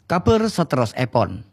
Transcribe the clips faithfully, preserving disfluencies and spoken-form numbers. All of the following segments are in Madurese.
Kabhâr saterrossèpon.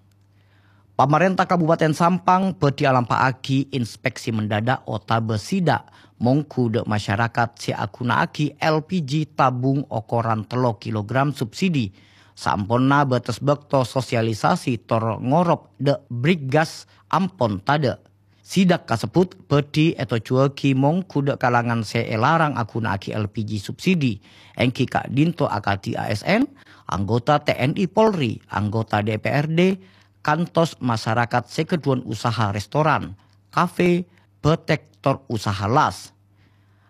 Pamarènta Kabupaten Sampang bhâdhi alampa'aghi inspeksi mendadak otabâ sidak mongghu dâ' masyarakat sè aghuna'aghi L P G tabung okoran tello kilogram subsidi, saamponna bâtes bâkto sosialisasi tor ngorop dâ' Brigas ampon tadâ'. Sidak kasebbhut bhâdhi ètojjhuwâghi mongghu dâ' kalangan sè èlarang aghuna'aghi L P G subsidi, èngghi ka'dinto akadhi A S N, anggota T N I Polri, anggota D P R D, kantos masyarakat sè ghâdhuwân usaha restoran, kafe, bâtèk, tor usaha las.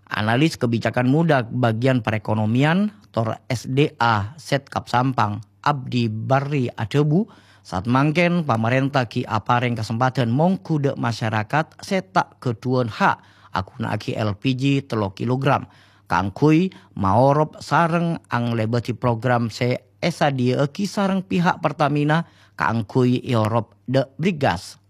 Analis kebijakan muda bagian perekonomian tor S D A Setkab Sampang, Abdi Barri adhâbu, saat mangkèn pamarènta ghi' aparèng kasempadhân mongghu dâ' masyarakat sè ta' ghâdhuwân ha' aghuna'aghi L P G tello kilogram kaangghuy maorop sareng anglèbâdhi program sè èsadhiyâ'aghi sareng pihak Pertamina kaangghuy èorop dâ' Brigas.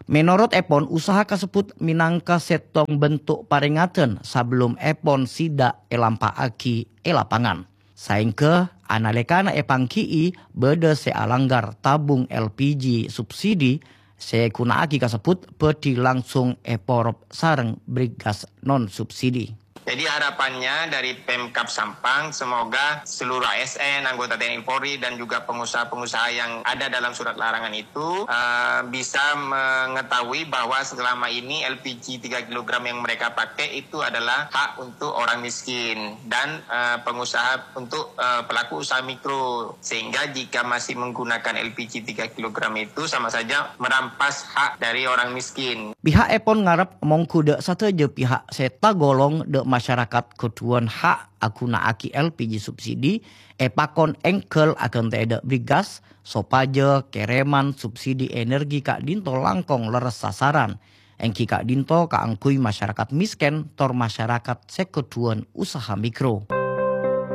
Mènorot èpon, usaha kasebbhut mènangka sèttong bentuk parèngadan sabellum èpon sidak èlampa'aghi è lapangan. Saèngghâ, analèkana èpangghi'i bâdâ sè alanggar tabung L P G subsidi sè èghuna'aghi kasebbhut bhâdhi langsung èporop sareng Brigas non subsidi. Jadi harapannya dari Pemkab Sampang, semoga seluruh A S N, anggota T N I Polri, dan juga pengusaha-pengusaha yang ada dalam surat larangan itu eh, bisa mengetahui bahwa selama ini L P G tiga kilogram yang mereka pakai itu adalah hak untuk orang miskin dan eh, pengusaha untuk eh, pelaku usaha mikro. Sehingga jika masih menggunakan L P G tiga kilogram itu sama saja merampas hak dari orang miskin. Piha'èpon ngarep mongghu dâ' sadhâjâ pihak sè tagolong dâ' masyarakat ghâdhuwân ha' aghuna'aghi L P G subsidi èpakon èngghâl aghântè'è dâ' Brigas sopajâ kèrèman subsidi energi ka'dinto langkong lerres sasaran, èngghi ka'dinto kaangghuy masyarakat mèskèn tor masyarakat sè ghâdhuwân usaha mikro.